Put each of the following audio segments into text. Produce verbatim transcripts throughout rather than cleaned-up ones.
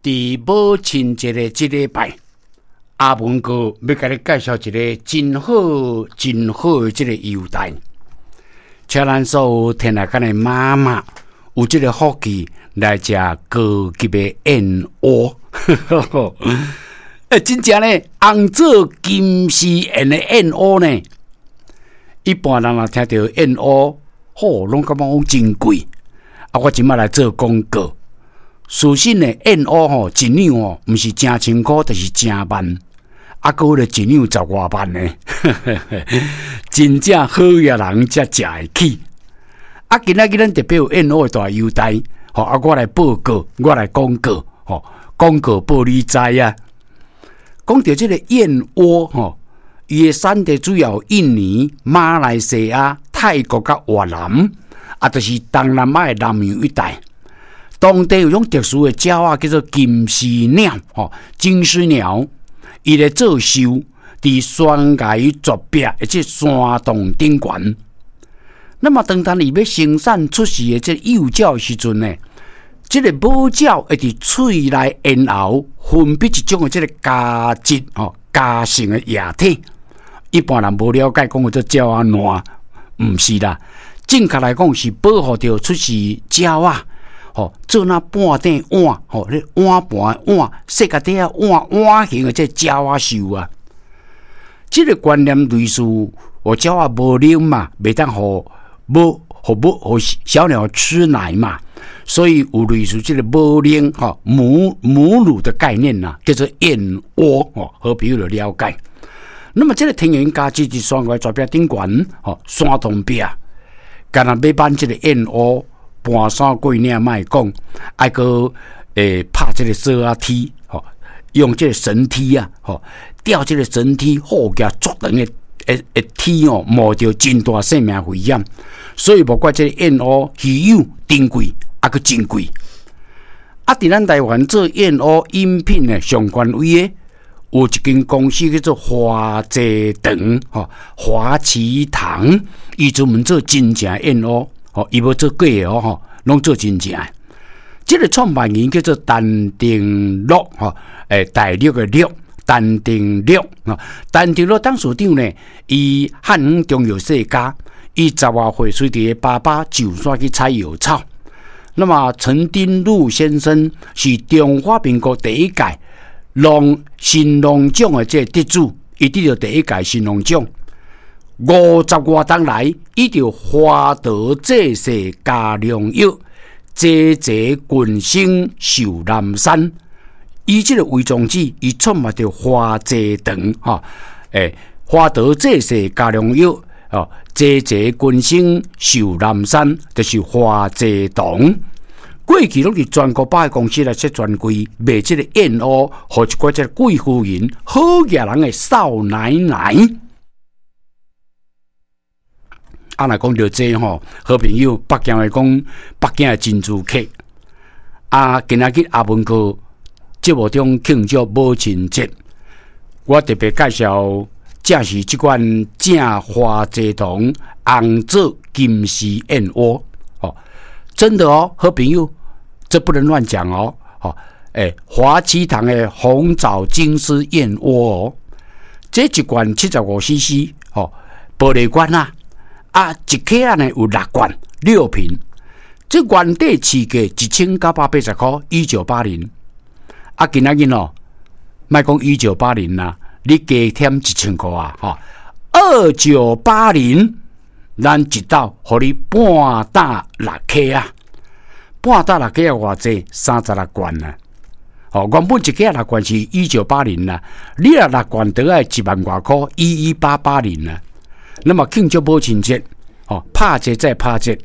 佇母親節的這禮拜，阿文哥欲共你介紹一个真好、真好的這个優待，請咱所有天下間的媽媽有這个福氣來食高級的燕窩。欸，真正呢，紅棗金絲燕的燕窩呢，一般人若聽著燕窩，吼，攏感覺講真貴。啊，我這擺來做廣告。事實呢，燕窩吼一兩吼，毋是成千箍，就是成萬。啊，閣有咧一兩十外萬呢，真正好額人才食會起。啊，今仔日咱特別有燕窩的大優待，吼，啊，我來報告，我來廣告，吼，廣告報你知啊。講著這个燕窩吼，伊的產地主要印尼、馬來西亞、泰國佮越南，啊，就是東南亞的南洋一帶。當地有種特殊的鳥仔叫做金絲鳥，吼，金絲鳥，伊咧做岫，佇懸崖絕壁或者山洞頂懸。那麼當當伊欲生產出世的這个幼鳥的時陣呢，這个母鳥會佇喙內咽喉分泌一種的這个膠質吼，膠性的液體。一般人無了解，講叫做鳥仔爛，毋是啦。正確來講是保護著出世鳥仔，吼，做若半鼎碗，吼，咧碗盤碗，細個底仔碗碗形的這鳥仔岫啊。這个觀念類似，予鳥仔無奶嘛，袂當予母予母予小鳥吃奶嘛，所以有類似這个母奶吼母母乳的概念呐，叫做燕窩吼，好朋友就了解。那麼這个天然膠質佇山崖絕壁頂懸，吼，山洞壁，干焦欲挽這个燕窩，盤山過嶺莫講，愛閣會拍這个索仔梯，吼，用這个繩梯啊，吼，吊這个繩梯，好額足長的的的梯哦，冒著真大性命危險，所以無怪這个燕窩稀有珍貴，啊閣真貴。啊，佇咱台灣做燕窩飲品的上權威的，有一間公司叫做華濟堂，吼，華旗堂，伊專門做真正燕窩，吼，伊無做假的哦，吼，攏做真正的。這个創辦人叫做陳定祿，吼，欸，大陸的陸，陳定祿，吼，陳定祿董事長呢，伊漢方中藥世家，伊十外歲隨佇爸爸上山去採藥草。那麼陳丁祿先生是中華民國第一屆農神農獎的這个得主，伊得著第一屆神農獎。五十外冬來，伊著華佗濟世加良藥，濟濟群生壽南山。以這个為宗旨，伊創辦著華濟堂，吼，欸，華佗濟世加良藥，哦，濟濟群生壽南山，就是華濟堂。過去攏佇全國百貨公司來設專櫃賣這个燕窩，予一寡這个貴婦人、好額人的少奶奶。啊，若講著這吼，好朋友，北京話講北京的珍珠客。啊，今仔日阿文哥節目中慶祝母親節，我特別介紹，正是這款正華濟堂紅棗金絲燕窩。哦，真的哦，好朋友，這不能亂講哦。哦，欸，華旗堂的紅棗金絲燕窩哦，這一罐七十五 C C，吼，玻璃罐啊。啊，一克仔呢有六罐，六瓶。這原底市價一千九百八十箍，一九八零。啊，今仔日哦，莫講一九八零啦，你加添一千箍啊，吼，二九八零，咱一斗予你半擔六克啊，半擔六克啊，偌濟三十六罐啊。哦，原本一克六罐是一九八零啦，你若六罐都愛一萬外箍，一一八八零啦。那麼慶祝母親節，吼，拍折再拍折，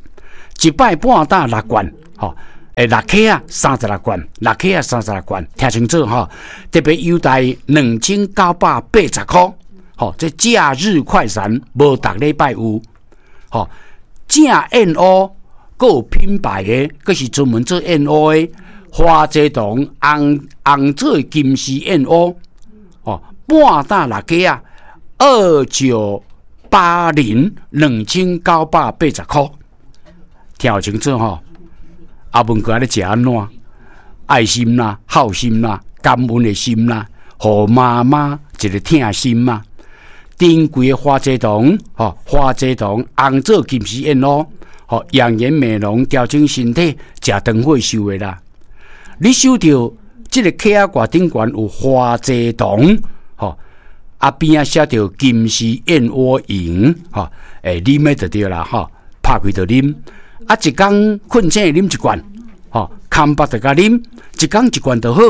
一擺半擔六罐，吼，欸，六克啊，三十六罐，六克啊，三十六罐，聽清楚吼，特別優待兩千九百八十箍，吼，這假日快閃，無逐禮拜有，吼，正燕窩，閣有品牌的，閣是專門做燕窩的，華濟堂紅紅棗金絲燕窩，吼，半擔六克啊，二九八零兩千九百八十箍，聽清楚吼。阿文哥咧食按怎？愛心啦、孝心啦、感恩的心啦，予媽媽一个疼心嘛。珍貴的花蔗糖，吼，花蔗糖紅棗金絲燕窩，吼，養顏美容、調整身體、食長歲壽的啦。你收著這个卡仔蓋頂懸有花蔗糖，吼，啊邊仔寫著金絲燕窩飲，吼，欸，啉的就對啦，吼，拍開就啉。啊，一工睏醒啉一罐，吼，空腹就共啉，一工一罐就好。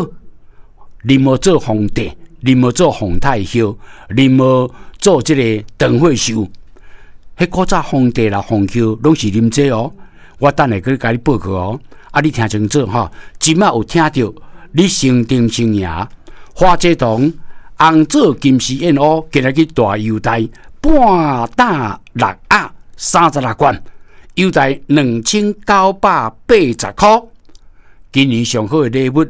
啉無做皇帝，啉無做皇太后，啉無做這个長歲壽。彼古早皇帝啦、皇后攏是啉這哦。我等下閣共你報告哦。啊，你聽清楚吼，這擺有聽著，你先定先贏。花蔗糖、紅棗金絲燕窩，今日去大優待，半擔六盒三十六罐，優待兩千九百八十箍。今年上好的禮物，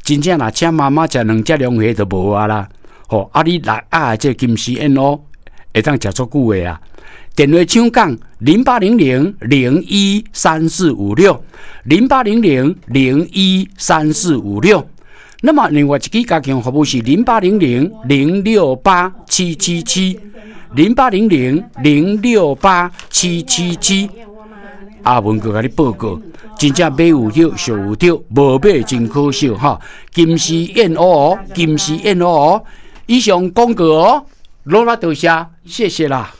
真正若請媽媽食兩隻龍蝦就無啊啦。吼，啊你六盒的這金絲燕窩會當食足久的啊。電話請講零八零零零一三四五六零八零零零一三四五六。那麼另外一支加強服務是零八零零零六八七七七零八零零零六八七七七。阿文閣共你報告，真正買有著，俗有著，無買真可惜哈。金絲燕窩哦，金絲燕窩哦，以上廣告哦，羅拉多謝，謝謝啦。